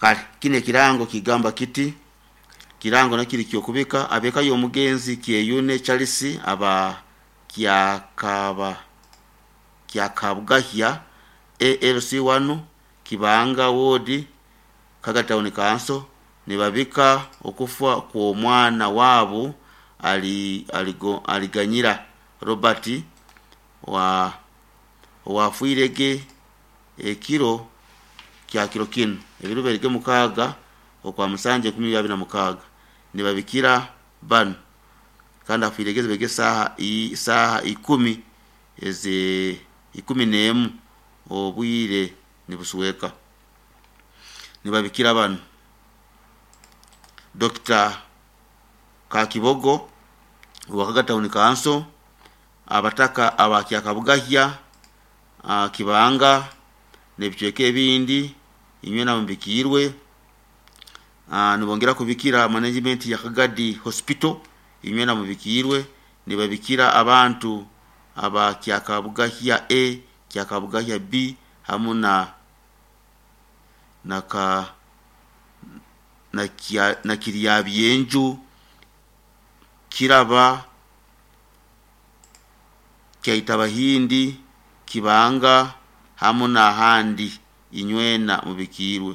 Kale kinu ekirango kigamba kiti, kirango nakyo kiri ky'okubika ab'eka y'omugenzi Kyeyune Charles aba Kyakaba Kyakabugahya ALC1 Kibanga Ward Kaga Town Council nibabika okufa kw'omwana wabu ali aligo Aliganyira Robert wa owafwirege ekiro kya kiro kinu ebiro berige mukaaga okwa musanju enkumi ibiri abiri na mukaaga nibabikira banu kandi afwirege zibege saaha i saaha ikumi eze 11 obwire nibusweka nibabikira banu Dokita Kakibogo owa Kaga Town Council, abataka aba Kyakabugahya, Kibanga n'ebicweka ebindi inywena mubikiirwe. Nibongera kubikira management ya Kagadi Hospital inywena mubikiirwe. Nibabikira abantu aba Kyakabugahya A, Kyakabugahya B hamu na na ka na kya na Kiryabyenju, Kiraba, Kyaitabahindi, Kibanga hamu n'ahandi inywena mubikiirwe.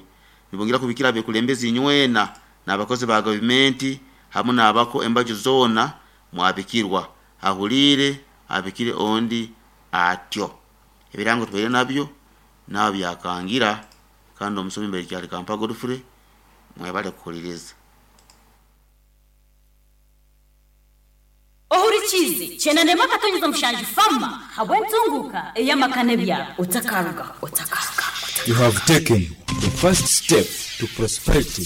Nibongera kubikira abekulembezi inywena n'abakozi ba gavumenti hamu n'abako embaju zoona mwabikirwa. Ahuliire abikire ondi atyo. Ebirango tubaire nabyo nawe byakangira kandi omusomi mbaire Kyalikampa Godfrey mwebale kuhuliriza. Ohurikiize Kyenda n'emwe akatonyeza mushanju Fama habw'entunguuka ey'amaka n'ebyaro. Otakarugaho, otakarugaho, You have taken the first step to prosperity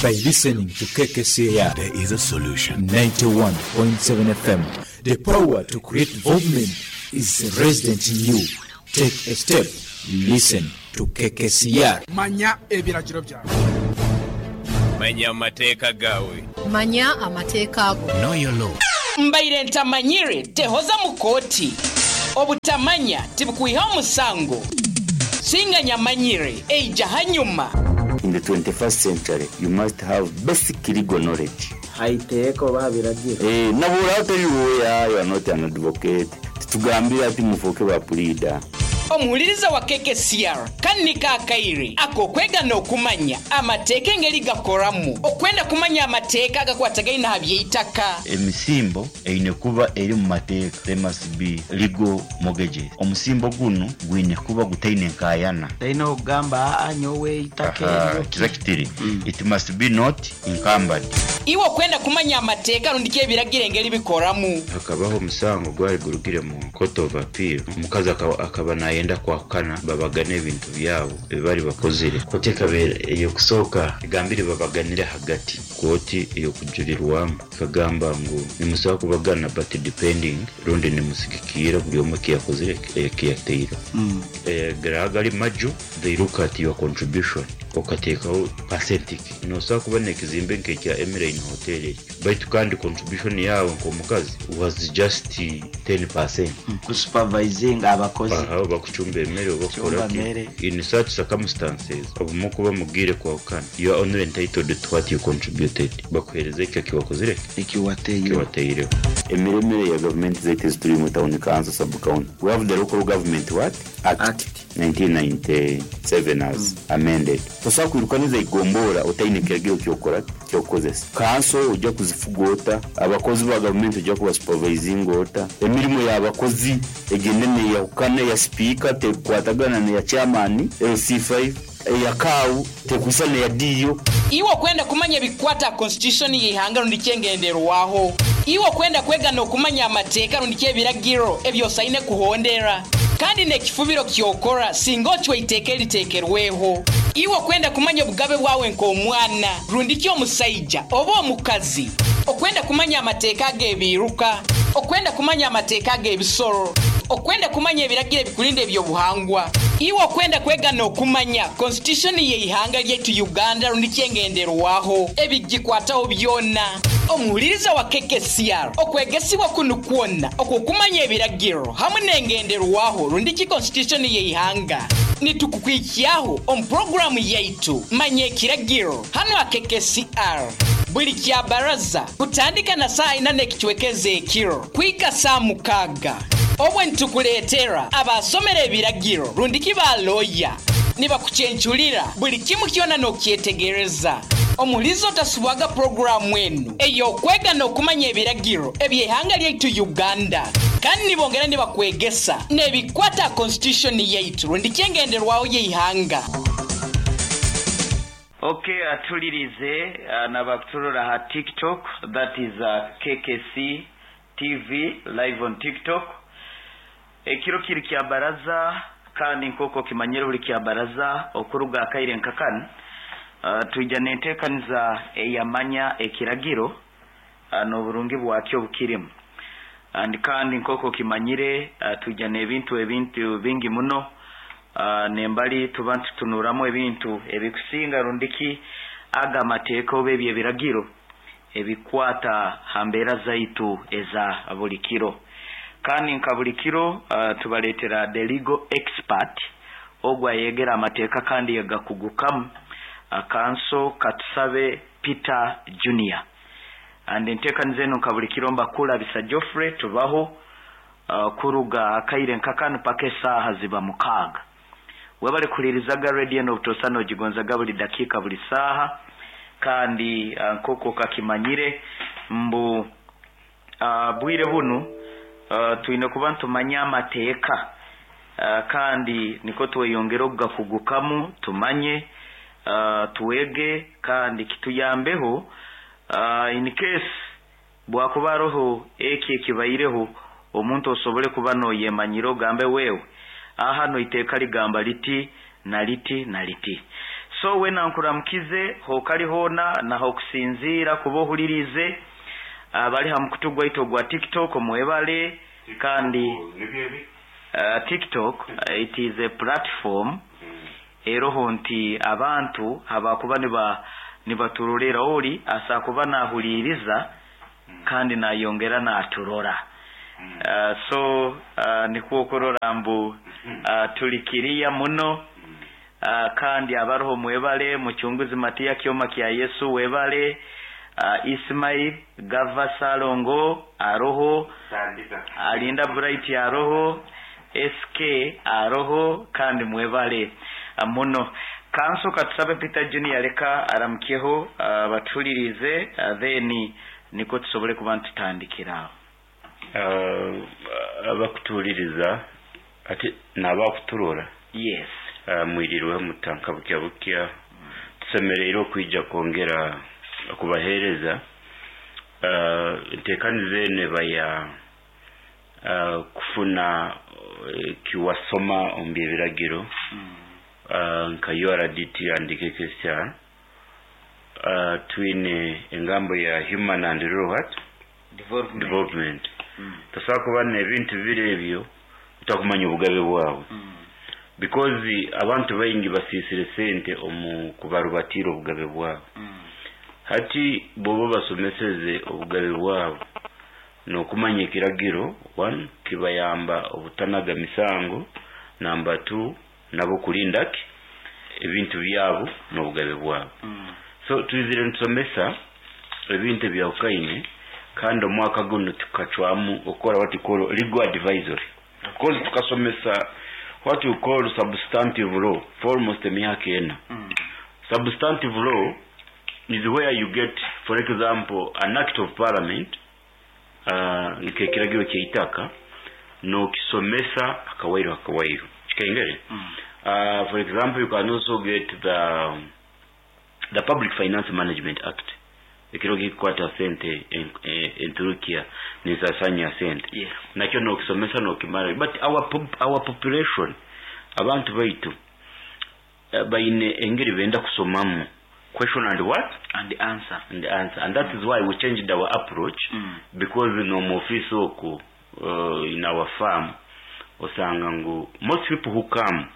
by listening to KKCR. There is a solution. 91.7 FM. The power to create development is resident in you. Take a step. Listen to KKCR. Manya ebiragiro byawe. Manya amateeka gawe. Manya amateeka go. Know your law. Mbaire ntamanyire tehoza mu kooti. Obutamanya tibukwiha omusango. Singa nyamanyire eija hanyuma. In the 21st century, you must have basic legal knowledge. Haiteeka oba habiragiro. Eh, nabura atari lawyer, you are not an advocate. Titugambire ati mufuuke ba pleader. Omuhuliriza wa KKCR kanika akaire ak'okwega n'okumanya amateeka engeri gakoramu. Okwenda kumanya amateeka agakwatagaine aha by'eitaka. Emisimbo eine kuba eri mu mateeka. There must be legal mortgages. Omusimbo gunu gwine kuba gutaine nkayana. Taine okugamba aa nyowe eitaka Aha, eryo. kiza kitiri. It must be not encumbered. Iwe okwenda kumanya amateeka rundi ki ebiragiro engeri bikoramu. Hakabaho omusango gwali gurugire mu court of appeal. Omukazi akaba nayenda kwahukana babagane ebintu byabo ebi bari bakozire. Kooti ekabeera ey'okusooka egambire babaganire hagati. Kooti ey'okujurirwamu ekagamba ngu nimusobola kubagana but depending rundi nimusigikiira buri omwe ekiyakozire ekiyateire. Garaha gari maju, they look at your contribution okateekaho percentage. Nosobola kuba n'ekizimbe nk'ekya Emeline Hotel ekyo, baitu kandi contribution yawe nk'omukazi was just 10%. Kusupervising abakozi. Aha, bakucumba emmere oba Kucumba kukola ki. emmere. In such circumstances, obumu kuba mugiire kwahukana, you are only entitled to what you contributed. Bakuheereza ekyo ekiwakozire, ekiwateireho. Emiremere ya gavumenti zaitu ezituri mu town council, sub county. We have the Local Government what? Act. Act. 1997 as amended. Tosobola kwirukaniza igombora otaine kiragiro kyokora kyokukozesa. Kanso ojja kuzifuga ota, abakozi ba gavumenti ojja kubasupervisinga ota, emirimu y'abakozi egende neyahukana eya sipiika tekukwatagana neya chairman LC5, eya kaawu tekwisa neya diyo. Iwe okwenda kumanya ebikwata constitution y'eihanga rundi kyengenderwaho. Iwe okwenda kwega n'okumanya amateeka rundi ky'ebiragiro ebyosaine kuhondera. Kandi n'ekifubiro kyokora singa ocwa eiteeka eriteekerweho. Iwe okwenda kumanya obugabe bwawe nk'omwana rundi ki omusaija oba omukazi. Okwenda kumanya amateeka ag'ebiiruka, okwenda kumanya amateeka ag'ebisoro, okwenda kumanya ebiragiro ebikulinda ebyobuhangwa. Iwe okwenda kwega n'okumanya constitution y'eihanga lyaitu Uganda rundi kyengenderwaho ebigikwataho byona. Omuhuliriza wa KKCR okwegesibwa kunu kwona okw'okumanya ebiragiro hamwe n'engenderwaho rundi ki constitution y'eihanga. Nitukukwikyaho omu puroguramu yaitu Manya Ekiragiro hanu aha KKCR buli kya baraza kutandika na saaha ina n'ekicwekeza ekiro kuhika saaha 6. Obwe nitukuleetera abasomera ebiragiro rundiki ba looya nibakucencurira buli kimu kyona n'okyetegereza. Omulizo otasubwaga puroguramu enu ey'okwega n'okumanya ebiragiro eby'eihanga lyaitu Uganda. Kandi nibongera nibakwegesa n'ebikwata aha constitution yaitu rundiki engenderwaho y'eihanga. Ok atulirize nabakuturora ha TikTok, that is KKC TV live on TikTok. Ekiro kiri kya baraza kandi nk'oku okimanyire buli kya baraza okuruga akaire nkakanu twija n'enteekaniza eyamanya ekiragiro n'oburungi bwakyo obukirimu. And kandi nk'oku okimanyire twija n'ebintu ebintu bingi muno nembali tuba nitutunuramu ebintu ebikusinga rundiki aga amateeka oba ebyo ebiragiro ebikwata ha mbeera zaitu eza buli kiro. Kandi nka buli kiro tubaleetera the legal expert ogwo ayegera amateeka kandi yagakugukamu Kanso Katusabe Peter Junior. And enteekaniza enu nka buli kiro mbakulabisa Geoffrey tubaho kuruga akaire nkakanu paka esaaha ziba 6. Webale kuhulirizaga radio eno obutosa nogigonzaga buli dakiika buli saaha kandi nk'oku okakimanyire mbu bwire bunu twine kuba nitumanya amateeka kandi niko tweyongere okugakugukamu tumanye twege kandi kituyambeho in case bwakuba haroho eki ekibaireho omuntu osobole kuba noyemanyira ogambe wewe aha noiteeka ligamba liti na liti na liti. So wena nkuramukize hokali hoona naho okusinziira kuba ohulirize abali ha mukutu gwaitu ogwa TikTok mwebale kandi TikTok it is a platform eroho nti abantu abakuba nibaturorera ori asakuba nahuliriza kandi nayongera naturora. So nikwo okurora mbu tulikiriya muno kandi abaroho mwebale muchunguzi Matiya Kyoma kya Yesu webale Ismail Gava Salongo aroho Alinda Bright aroho SK aroho kandi mwebale muno. Kanso Katusabe Peter Junior leka aramukyeho batuhulirize then niko tusobole kuba ntutandikira. Abakutuhuliriza ate n'abakuturora. Yes. Mwirirwe mutanka bukya bukya tusemereire okwija kwongera okubaheereza enteekaniza eno eba ya kufuna kiwasoma omu by'ebiragiro nka URDT and KKCR twine engambo ya human and rural what? Development. Tosobola kuba n'ebintu bibiri ebyo utakumanya obugabe bwawe. Because abantu baingi basiisire sente omu kubarubatiira obugabe bwabo. Hati bobo basomeseze obugabe bwabo n'okumanya ekiragiro 1 kibayamba obutanaga misango, namba 2 nabo kulinda ki ebintu byabo n'obugabe bwabo. So twizire nitusomesa ebintu ebyawukaine kandi omwaka guno tukacwamu okukora what we call legal advisory. Because tukasomesa what we call substantive law for almost emyaka ena. Substantive law is where you get, for example, an act of parliament nk'ekiragiro ky'eitaka n'okisomesa akawairo akawairo. Kikaingere? For example, you can also get the Public Finance Management Act. Ekiro kikwata sente enturukia nisasanya sente. Yes. Nakyo n'okisomesa n'okimara. But our population abantu baitu baine engeri benda kusomamu question and what? And answer. And answer. And that is why we changed our approach. Because no mu office oku in our farm osanga ngu most people who come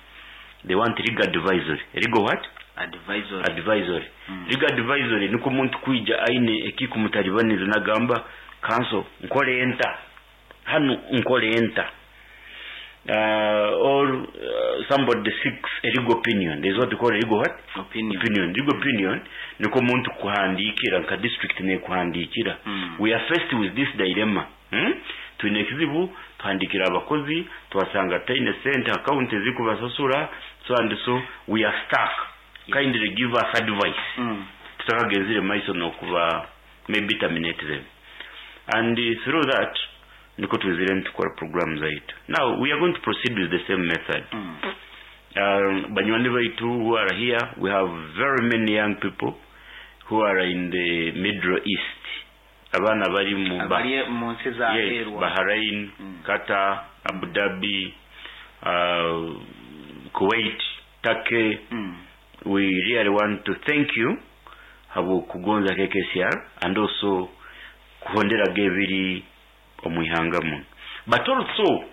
they want legal advisory. Legal what? Advisory. Advisory. Legal advisory niko omuntu kwija aine ekikumutalibaniza nagamba kanso nkole enta hano nkole enta. Or somebody seeks a legal opinion. There's what we call a legal what? Opinion. Opinion. Legal opinion niko omuntu kuhandikira nka district nekuhandikira. We are faced with this dilemma. Twine ekizibu, tuhandikira abakozi, twasanga taine sente account ezikubasasura, so and so we are stuck. Yes. Kindly give us advice. Tutakagenzire maiso nokuba maybe terminate them. And through that niko twizire nitukora program zaitu. Now we are going to proceed with the same method. Banywani baitu who are here, we have very many young people who are in the Middle East. Abaana bari mu Abali mu nsi za yes, aheeru. Bahrain, Qatar, Abu Dhabi, Kuwait, Turkey. We really want to thank you habwokugonza KKCR and also kuhonderaga ebiri omu ihanga muno. But also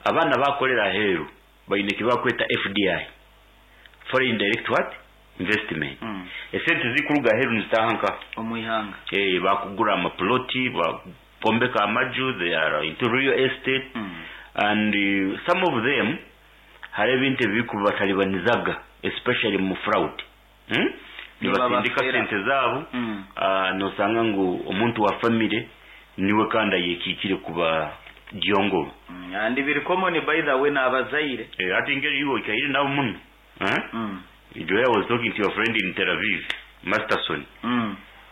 abaana bakolera aheeru baine kibakweta FDI, foreign direct what? Investment. Esente zikuruga aheeru nizitaha nka omu ihanga. Bakugura amaploti, bakombeka amaju, they are into real estate. And some of them hari ebintu ebikubatalibanizaga, especially mu fraud, Nibasindika Nibabafera. sente zaabo. Nosanga ngu omuntu wa family niwe kandi ayekiikire kuba gyongolo. And biri common, by the way, n'abazaire. Ati ngeri iwe ikaire nabo muno, eh? The way I was talking to your friend in Tel Aviv, Masterson,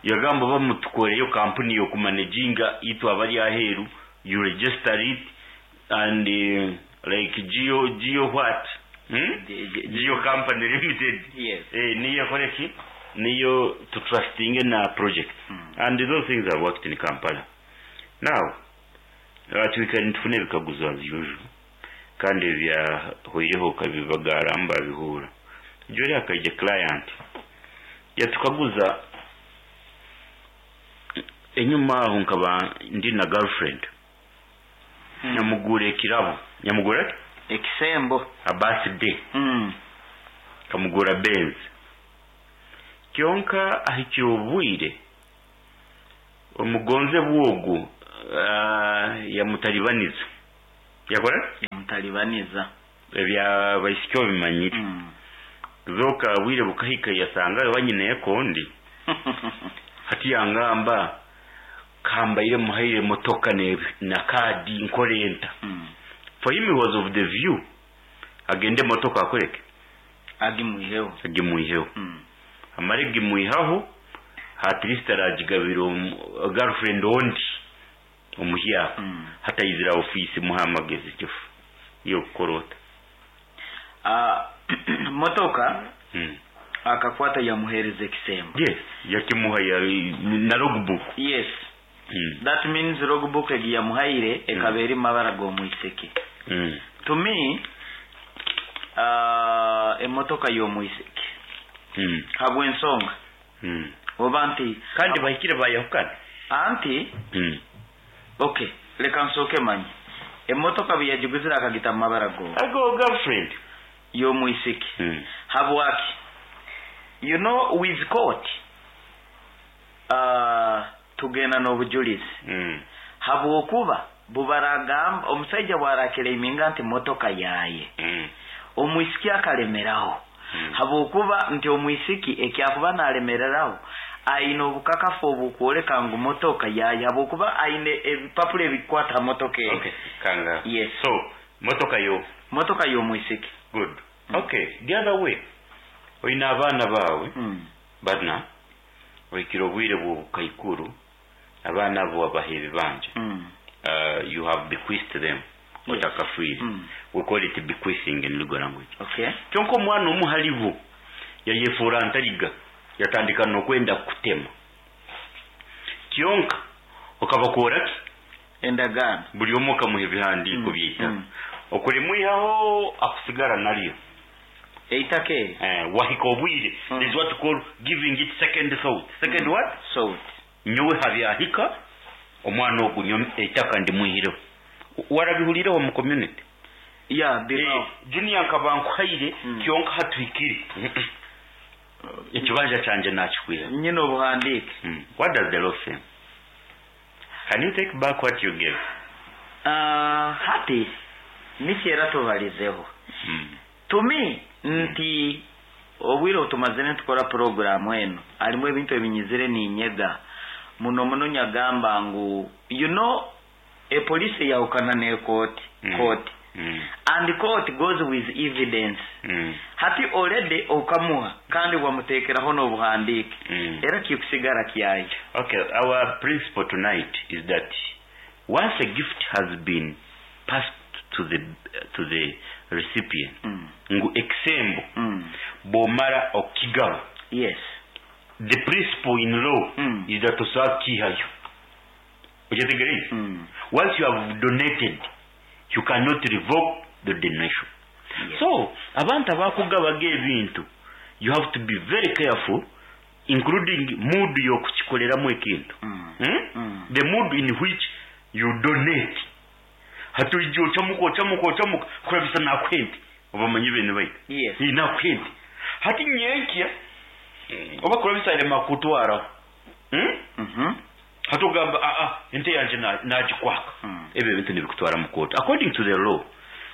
yagamba bamutukoreyo kampuni yokumanaginga itwe abali aheeru, you register it and like Geo what? Geo Company Limited. Yes. Niyo koreki niyo to trusting na project. And those things have worked in Kampala. Now twikare tufune ebikaguzo as usual, kandi ebyahoireho kabibagaramba bihura jori akaija client yatukaguza enyuma aho nkaba ndi na girlfriend, nyamugura ekirabo, nyamugura ekisembo, a birthday, kamugura Benz. Kyonka ahikire obwire omugonze bwogu yamutalibaniza, yakora yamutalibaniza. Ebya baisiki obimanyire. Zoka bwire bukahika yasanga wanyine ekondi hati yangamba kambaire muhaire motoka ne na kadi nkorenta. For him, he was of the view agende motoka akoreke agimuiheho. Agimuiheho. Amare gimuihaho, at least aragigabira girlfriend ondi omuhyaka. Hatayizira ofisi muha amagezi kifu yo kukorota. Motoka akakwata yamuhereza ekisembo. Yes, yakimuha ya na logbook. Yes. That means logbook egi yamuhaire ekaba eri mabara g'omwiseke. To me, emotoka y'omwiseke habw'ensonga oba nti kandi bahikire bayahukana. Anti okay, leka nsooke manye emotoka bwe yagiguzire akagita mu mabara go ago girlfriend y'omwiseke. Habwaki, you know, with court, tugenda n'obujulizi. Habwokuba bubaragamba omusajja bwarakireiminga nti motoka yaye, omwisiki akalemeraho. Habwokuba nti omwisiki ekyakuba nalemereraho aine obukakafu obukwoleka ngu motoka yaye, habwokuba aine ebipapula ebikwata ha motoka eyo. Okay, kanga. Yes. So motoka yo motoka y'omwisiki. Good. Okay, the other way, oyina abaana baawe bana, ohikire obwire bw'obukaikuru, abaana abo wabaha ebibanja. You have bequeathed them. Otakafiire. We call it bequeathing in legal language. Kyonka omwana omu halibo yayefuura ntaliga, yatandika n'okwenda kutema. Kyonka okabakora ki? Endagaano. Buli omu okamuha ebihandiiko byeitaka. Okulimwihaho akusigara naryo eitaka eryo. Wahika obwire. This is what we call giving it second thought. Second what? Thought. Nyowe habyahika omwana ogu eitaka ndimwihireho. Warabihulireho mu community? Yeah, biro. Junior nkaba nkuhaire. Kyonka hatuhikire ekibanja kyanje nakikwira. Nyine obuhandiike. What does the law say? Can you take back what you gave? Hati Nikyera tubalizeho. To me nti obwire obutumazire nitukora poroguramu eno harimu ebintu ebinyizire ninyega muno muno nyagamba ngu you know epolice eyahukana n'ekooti court and court goes with evidence hati already okamuha kandi wamuteekeraho n'obuhandiike era kikusigara kyaija. Okay, our principle tonight is that once a gift has been passed to the recipient, ngu ekisembo bwomara okukigaba, yes, the principle in law is that osobola kukiihayo. Okyetegereize? Once you have donated, you cannot revoke the donation. So abantu abakugabaga ebintu, you have to be very careful, including mood yokukikoleramu ekintu. The mood in which you donate. Hati oija ocamuka ocamuka ocamuka kurabisa nakuhente obamanyi bene baitu. Yes. Nakuhente hati nyenkya oba kurabisa alema kutwaraho. Hati ogamba ente yanje nagikwaka. Ebyo ebintu nibikutwara mu court. According to the law,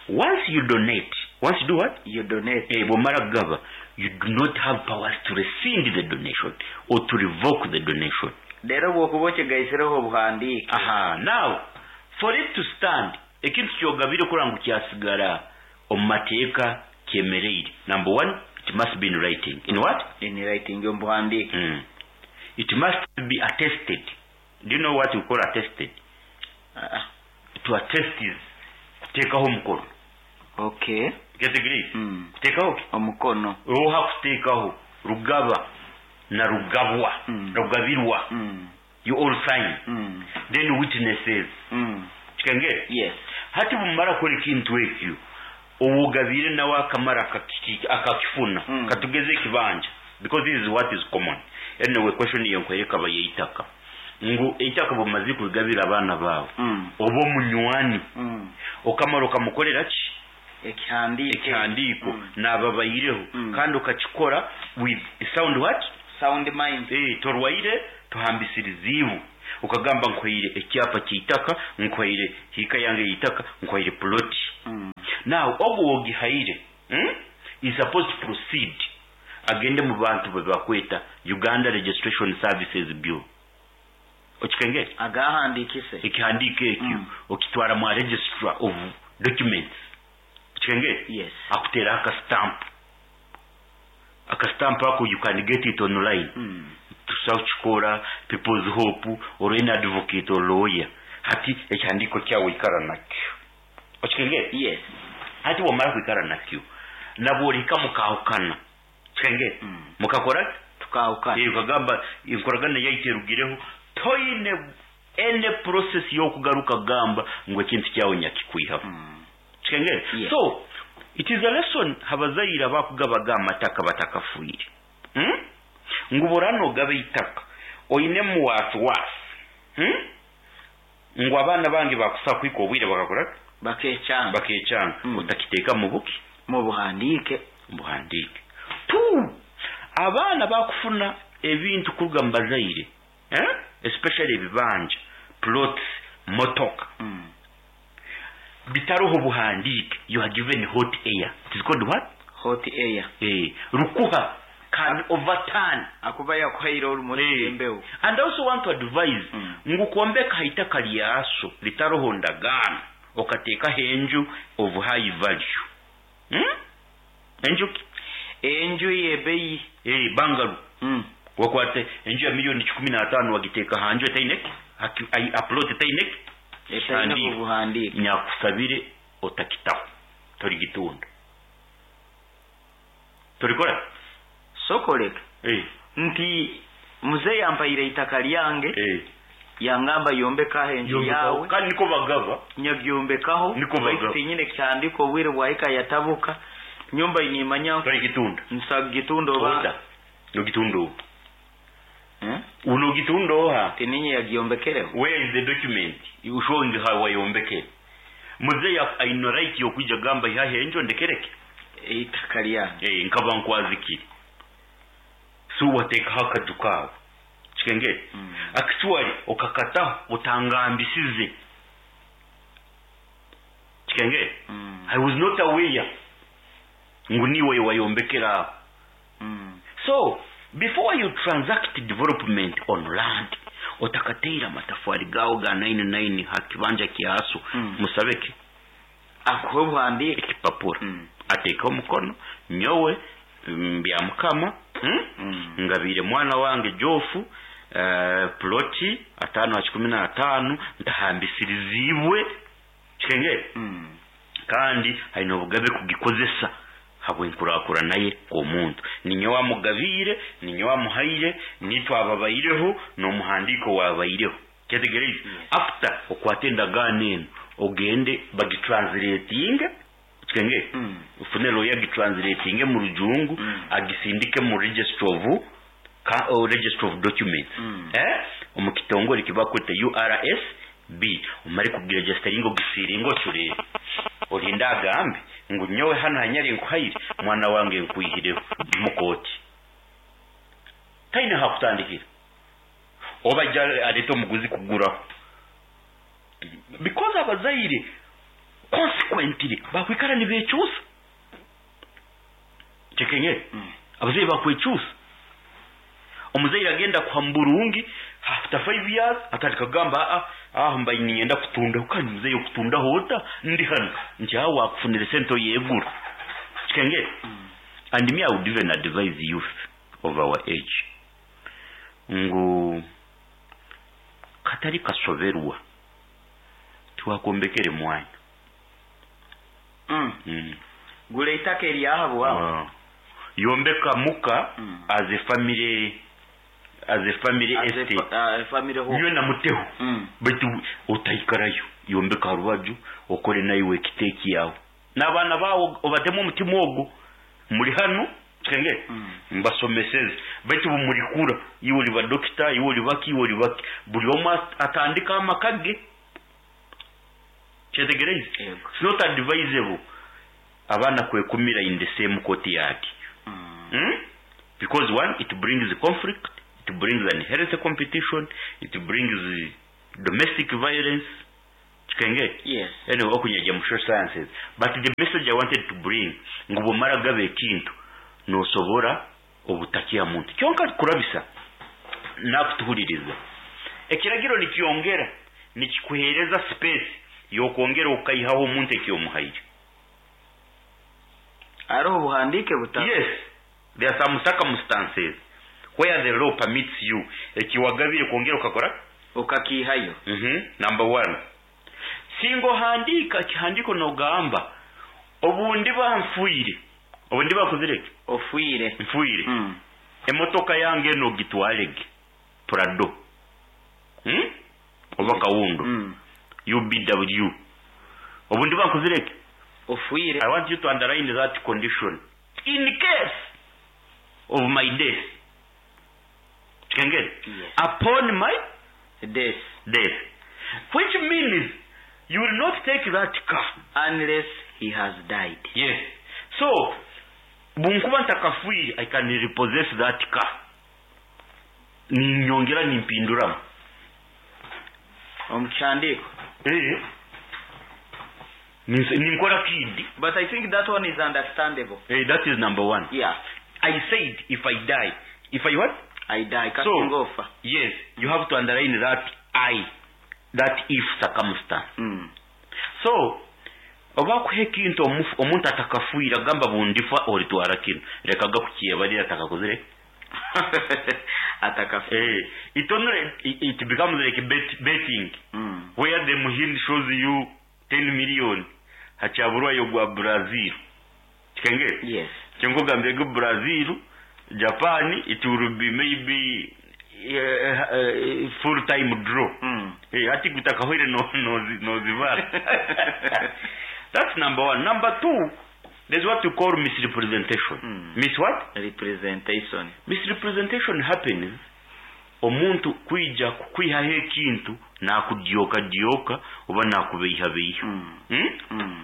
once you donate, once you do what? You donate. Bwomara kugaba, you do not have powers to rescind the donation or to revoke the donation. Rero bwokuba okigaisireho obuhandiike. Aha, now for it to stand, ekintu kyogabire kuranga ngu kyasigara omu mateeka kyemereire. Number one, it must be in writing. In what? In writing, omu buhandiike. It must be attested. Do you know what you call attested? To attest is kuteekaho omukono. Okay. Get agree? Kuteekaho ki? Omukono. Oha kuteekaho rugaba na rugabwa, rugabirwa. You all sign. Then witnesses. Kikengere? Yes. Hati bumara kora ekintu ekyo, owugabire nawe akamara akakifuna, katugeze ekibanja, because this is what is common. Anyway, question iyo nkwereka bayitaka. Ngu eitaka bumaze kubigabira abaana bawe, oba omunywani, okamara okamukorera ki? Ekihandiiko n'ababayireho, kandi okakikora with sound what? Sound mind. Torwaire tuhambisirizibu. Ukagamba nkwaire ekyapa ky'eitaka, nkwaire hika yange y'eitaka, nkwaire plot. Now ogwo wogihaire, is supposed to proceed agende mu bantu bwe bakweta Uganda Registration Services Bureau. Okikengere? Agahandikise. Ekihandiiko ekyo okitwara mu registrar of documents. Okikengere? Yes. Akutera aka stamp. Aka stamp ako you can get it online. Tusakukikora People's Hope or any advocate or lawyer. Hati ekihandiiko kyawe ikara nakyo. Okikengere? Yes. Hati wamara kwikara nakyo, nabworeka mukahukana. Kikengere? Mukakora? Tukahukana. Ukagamba enkoragana yaitu erugireho, toine any process y'okugaruka gamba ngu ekintu kyawe nyakikwihaho. Kikengere? Yes. So it is a lesson abazaire abakugabaga amataka batakafuire. Ngu borano ogabe itaka oine muwasiwasi, ngu abaana bange bakusa kwika obwire bakakora bakecanga, otakiteeka mu buki, mu buhandiike. Buhandiike. Two, abaana bakufuna ebintu kuruga mu bazaire, especially ebibanja, plots, motoka, bitaroho buhandiike. You are given hot air. It is called what? Hot air. Rukuha can overturn. Akuba yakuhaire olumuri embeho. And I also want to advise, ngu kwombeka haitaka lyaso litaroho ndagaano, okateekaho enju of high value. Enju ki? Enju y'ebbeeyi. Bangalu. Wakwate enju ya 15,000,000 wagiteeka hanju etaineke, upload etaineke, etaine obuhandiike. Nyakusabire otakitaho, torigitunda. Torikora? Sokoleka. Nti muzeeyi ampaire itaka lyange, yangamba yombekaho enju yawe. Kandi niko bagaba. Nyagyombekaho. Niko bagaba. Tinyine kihandiko obwire bwahika yatabuka. Nyumba inimanya torigitunda. Nsagitunda oba. Nogitunda oba. Unogitunda oha. Tininye yagyombekereho. Where is the document showing how wayombekere? Muzeeyi aine right yokwija gamba ihahe enju ndekereke itaka lyange. Nkaba nkwazikire. So wateekaho akaju kawe. Kikengere? Actually okakataho otangambisize. Kikenge? I was not aware ngu niwe wayombekera aho. So before you transact development on land, otakateera amatafari gawo ga 99 ha kibanja kyaso, musabeke akuhe obuhandiike ekipapura, ateeke omukono, nyowe bya mukama, ngabire mwana wange Jofu ploti 5 ha 15 ntahambisirizibwe. Kikenge? Kandi haine obugabe kugikozesa habwenkurakurana naye omuntu ninye wamugabiire, ninye wamuhaire, nitwe ababaireho n'omuhandiiko wabaireho. Kyetegereze? After okwate endagaano eno, ogende bagitranslatinge. Kikenge? Ufune lawyer, agitranslatinge mu Rujungu, agisindike mu register of documents, omu kitongole kibakweta URSB. Omare kugiregisteringa, ogisiringa, ocurere, olinde agambe ngu nyowe hano hanyari nkuhaire mwana wange, nkwihireho mukooti. Taine hakutandikira, oba ajja alete omuguzi kuguraho, because abazaire consequently bakwikara nibekyusa. Kyekenyere? Abazaire bakwekyusa. Omuzaire agenda kuha mu burungi, after 5 years atandika kugamba, "Aa, aho mbaye ninyenda kutundaho." Kandi muzeyi, okutundaho ota ndi hano nti aho wakufunira sente oyegura. Kikengere? And me, I would even advise youth of our age ngu katari kasoberwa tiwakombekere mwanya. Gula itaka eryaha bwawe. Ah. Yombeka muka as a family As a estate. Family home. Nywe namuteho, baitu otaikarayo. Yombeka rubaju, okore naiwe ekiteeki yawe n'abaana bawe, obatemu omutima ogwo. Muri hano, kenge, mbasomeseze, baitu bumurikura, iwe oli badokita, iwe oli baki, iwe oli baki, buli omwe atandika amaka ge. Kyetegereze? Yego. It's not advisable abaana kwekumira in the same courtyard, Because one, it brings conflict, it brings unhealthy competition, it brings domestic violence. Kikenge? Yes. Anyway, okunyajya mu social sciences, but the message I wanted to bring ngu bwomara gaba ekintu, nosobora obutakya muntu kyonka kurabisa nakutuhuliriza. Ekiragiro nikyongera nikikuhereza space yokwongera okaihaho omuntu ekyomuhaire. Hariho obuhandiike buta. Yes, there are some circumstances where the law permits you ekiwagabire kwongera ukakora ukakihayo. Number one, singa ohandiika kihandiiko nogamba obundi banfuire, obundi bakozireke. Ofuire. Nfuire, emotoka yange eno ogitwarege, Prado, Oba kawundo, UBW, obundi bankozireke. Ofuire. I want you to underline that condition: in case of my death. Kikengere? Yes. Upon my death. Death, which means you will not take that car unless he has died. Yes. So bunkuba ntakafuire, I can repossess that car, ninyongera nimpinduramu. Omu kihandiiko. Eh. Ninkora kidi. But I think that one is understandable. Eh, that is number one. I said if I die. If I what? I die. So, kasinga ofa. Yes, you have to underline that I, that if circumstance. So oba kuha ekintu omuntu atakafuire, agamba bundifa olitwara kino, lekaga kukyebalira atakakozire. Atakafa. Eh, it only it becomes like betting, where the muhindi shows you 10 million hachaburwayo gwa Brazil. Kikenge? Yes. Kyengugambye go Brazil, Japan, it will be maybe full time draw. Eh, ati kutakahwire no zivara. That's number one. Number two, there's what you call misrepresentation. Mis what? Representation. Misrepresentation happens omuntu kwija kukwihaho ekintu nakudyoka dyoka oba nakubeihabeiha.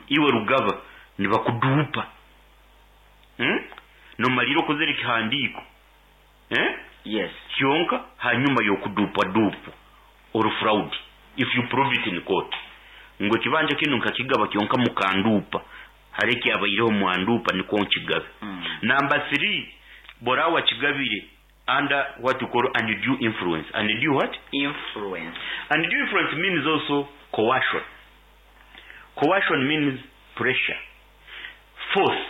Iwe rugaba nibakudupa, Nomalira okozere ekihandiiko, eh? Yes. Kyonka hanyuma yokudupa dupwa or fraud, if you prove it in court. Ngo ekibanja kinu nkakigaba kyonka mukandupa, hari ekyabaireho mwandupa nikwo nkigabe. Number 3, borawa kigabire under what you call undue influence. Undue what? Influence. Undue influence means also coercion. Coercion means pressure, force.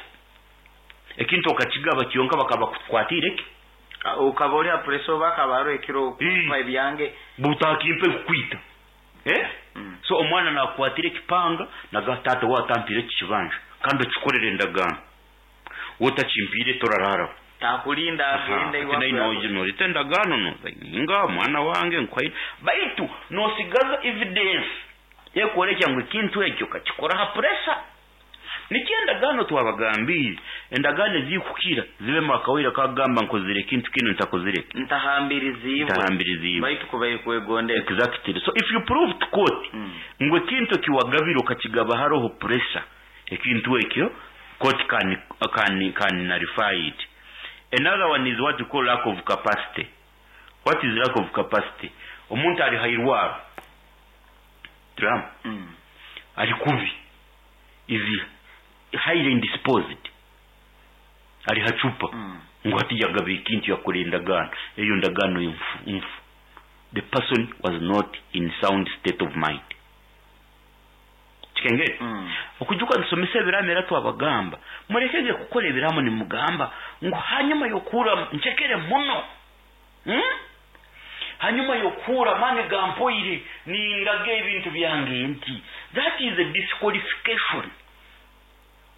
Ekintu okakigaba kyonka bakaba kukwatire ki? Ukaba ori pressure bakaba ekiro kumpa ebyange butakimpe kukwita. So omwana nakwatire ekipanga naga tata watampire ekibanja kandi okikorere endagaano wotakimpire torarara takulinda agenda iwapo norita endagaano noinga mwana wange nkwaire baitu nosigaza evidence ekworekya ngu ekintu ekyo kakikora ha pressure. Nikyo endagaano twabagambire, endagaano ezikukira zibe mwakawira kagamba nkozire ekintu kino ntakozire ntahambiriziibwe baitu kubaire kwegondera. Exactly. So if you prove to court ngu ekintu kiwagabire okakigaba haroho pressure, ekintu ekyo court can nullify it. Another one is what you call lack of capacity. What is lack of capacity? Omuntu ali hairwaro drum ali kubi is highly indisposed, ali hachupa ngo ati yagabe ekintu yakora endagaano, eyo ndagaano nfu. The person was not in sound state of mind. Kikengere okujuka nsomesa ebiramo era twabagamba murekege kukora ebiramo nimugamba ngu hanyuma yokura nchekere muno hanyuma yokura mani gampoire nindaga ebintu byange nti that is a disqualification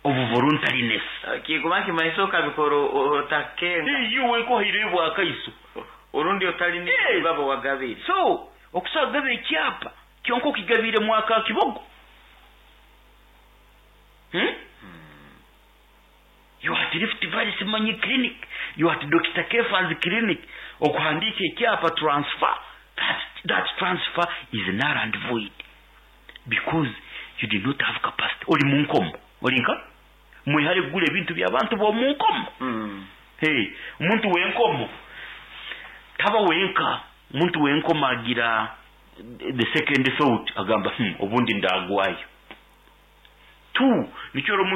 of voluntariness. Kiguma kimaiso kabikoro otakenga iwe nkohire bwakaiso orundi otali ni babo wagabire. So okusagabe ekyapa kyonko kigabire mwaka kibogo. You at Rift Valley Simanyi Clinic, you at Dr. Kefa's clinic, okuhandika ekyapa transfer, that transfer is null and void because you did not have capacity. Oli munkomo, olinka mwihale kugula ebintu by'abantu b'omunkomo. Hey, omuntu w'enkomo taba wenka, omuntu w'enkomo agira the second thought agamba obundi ndagwayo. 2 nikyo omuntu